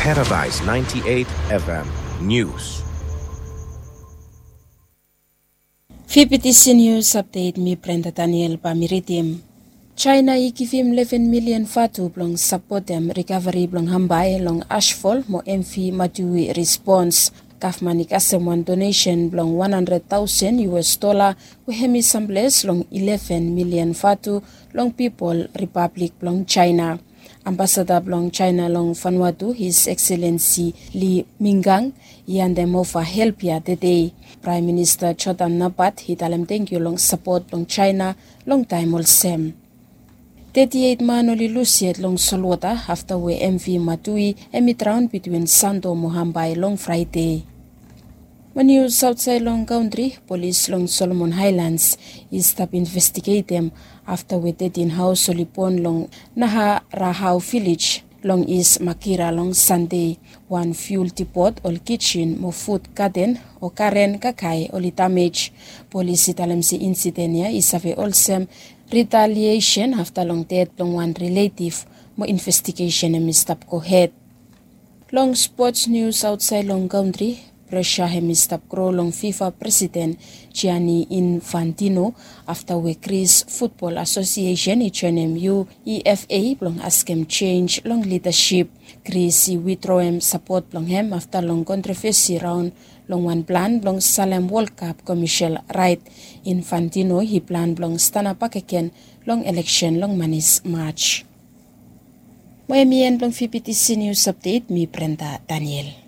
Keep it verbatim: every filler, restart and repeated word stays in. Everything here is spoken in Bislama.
Paradise ninety-eight F M News. Fifty C News Update, mi Brenda Daniel bae mi ridim. China i givim leven milian vatu blong sapotem rikaveri blong Hambai long ashfol mo M V Matui respons. Gavman i kasem wan donesen blong wan handred taosen U S dola we hem i samples long ileven milian vatu long pipol Ripablik blong China. Ambasada blong China long Vanuatu, His Excellency Li Mingang, i handem ova help ya tede. Praem Minista Jordan Napat i talem tangkiu long sapot blong China long taem olsem. Teti eit man oli lus yet long solwota afta we M V Matui hem i draon bitwin Santo mo Hambai long Fraede. Mo nius aotsaed long kantri, polis long Solomon Haelans i stap investigetem afta we tetin haos oli bon long Naharahau vilej long Is Makira long Sande. Wan fiul dipot, ol kijin mo fud gaden o garen kakae oli damej. Polis i talem se insiden ya i save olsem ritaliesen afta long ded blong wan riletiv, mo investigesen hem i stap gohed. Long spots nius aotsaed long kantri, presa hem i stap gro long FIFA presiden Gianni Infantino afta we Gris Futbol Asosiesen i joenem UEFA blong askem jenj long lidasip. Gris i widroem sapot blong hem afta long kontrovesi raon long wan plan blong salem Wol Kap komesil raet. Infantino i plan blong stanap bakegen long eleksen long manis Maj. Mo hem i en blong fifty C News Update, mi Brenda Daniel.